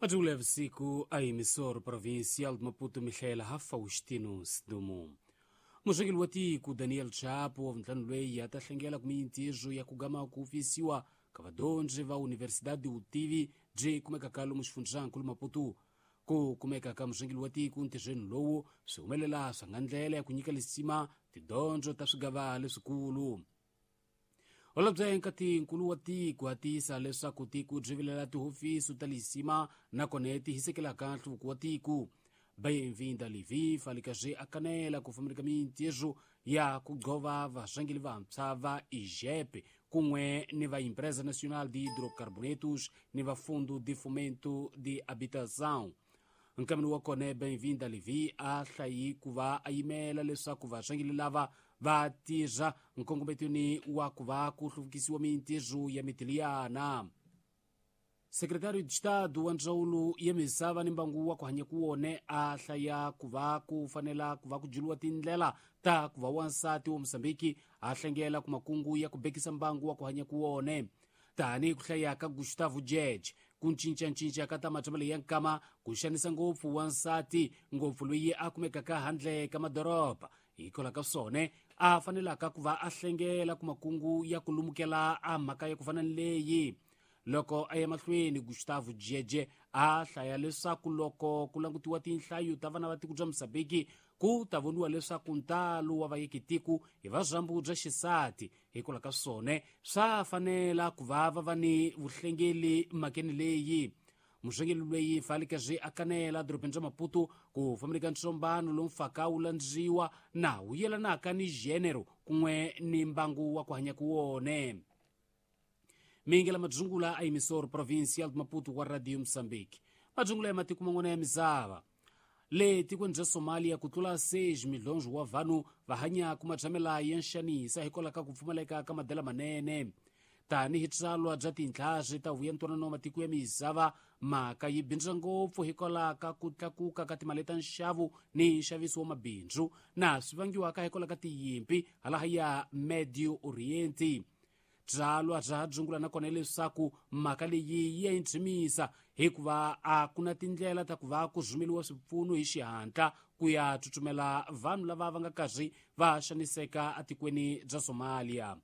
Majungula ya vusiku a emissor provincial de Maputo Michela Faustino Sidumo. Muxengeli wa tiko Daniel Chapo wa vuntlhanu loyi a ta hlengela ku mintirho ya ku gama ku fisiwa ka vadyondzi va Universidade Utivi byi kumekaka lomu xifundzankulu Maputo. Ku kumeka ka muxengeli wa tiko ntirhweni lowu swi humelela swa nga ndlela ya ku nyika lisima tidyondzo ta swigava leswikulu. Holobye nkatinkulu wa tiko a tiyisa leswaku tiko byi vilela tihofisi ta lisima nakona ti hisekelaka nhluvuko wa tiko. Bem-vinda Livi falikazi a kanela ku fambeleka mintirho ya ku gqova varhangeli vantshwa va IGEP kun'we ni va Empresa Nacional de Hidrocarbonetos ni va Fundo de Fomento de Habitação. Nkameni wa kona Bem-vinda Livi a hlayi ku va a yimela leswaku varhangeli lava va tirha nkongometweni wa ku va ku hluvukisiwa mintirho ya mitiliyana. Secretário de Estado wa ndzawulo ya misava ni mbangu wa ku hanya ku wone a hlaya ku va ku fanela ku va ku juliwa tindlela ta ku va wansati wa Mozambiki a hlengela ku makungu ya ku bekisa mbangu wa ku hanya ku wone. Tanihi ku hlaya ka Gustavo Jeje, ku cincacinca ka ta matshambelo ya nkama ku xanisa ngopfu wansati ngopfu loyi a kumekaka handle ka madoroba hikwalaho ka swona a fanelaka ku va a hlengela ku makungu ya ku lumukela a mhaka ya ku fana ni leyi. Loko a ya mahlweni Gustavo Jeje a hlaya leswaku loko ku langutiwa tinhlayo ta vana va tiko bya Mozambiki ku ta voniwa leswaku ntalo wa vayekitiko hi va byambu bya xisati hikwalaho ka swona swa fanela ku va va va ni vuhlengeli mhakeni leyi. Muxengeli loyi falikazi a kanela dorobeni ra Maputo ku fambeleka ntsombano lowu mfaka wu landziwa na wu yelanaka ni gênero kun'we ni mbangu wa ku hanya ku wone. Mingela madzungula a emissor provincial de Maputo wa Radio Moçambique. Madzungula ya matiko man'wana ya misava. Le tikweni bya Somalia ku tlula 6 milhonjo wa vanhu va hanya ku matshamela ya nxanisa hikwalaho ka ku pfumaleka ka madela manene. Tanihi tsalwa bya tintlhari ta vuya ntwanano wa matiko ya misava mhaka yi bindza ngopfu hikwalaho ka ku tlakuka ka timali ta nxavo ni nxaviso wa mabindzu na swi vangiwaka hikwalaho ka tiyimpi halaha ya Medio Oriente. Byalwa bya dzungula nakona leswaku mhaka leyi ya intshimisa hikuva a ku na tindlela ta ku va ku rhumeriwa swipfuno hi xihatla ku ya tsutsumela vanhu lava va nga karhi va xaniseka etikweni bya Somalia.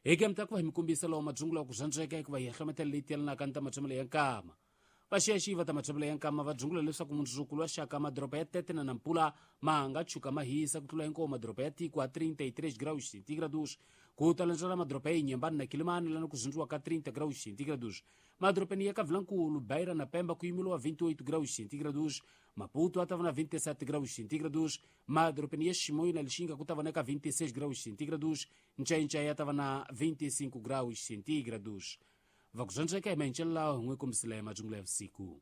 Hi ke mi ta ku va hi mi kombisa lawa madzungula ku rhandzeka hikuva hi hlometela leyi tiyelanaka ni ta matshambelo ya nkama. Vaxiyaxiyi va ta matshambelo ya nkama va dzungula leswaku mundzuku wa xaka madoroba ya Tete na Nampula ma nga tshuka ma hisa ku tlula hinkwawo madoroba ya tiko a 33 graus centígrados ku ta landzela madoroba ya Inhambane na Quelimane lana ku zindziwa ka 30 graus centígrados. Madorobeni ya Kavilankulu, Beira na Pemba ku yimeliwa 28 graus centígrados, Maputo a ta va na 27 graus centígrados, madorobeni ya Chimoio na Lixinga ku ta va na ka 26 graus centígrados, Ncainca ya ta va na 25 graus centígrados. Va ku zwandzeka hi mahencelo lawa hi n'wi kombisile madzungula ya vusiku.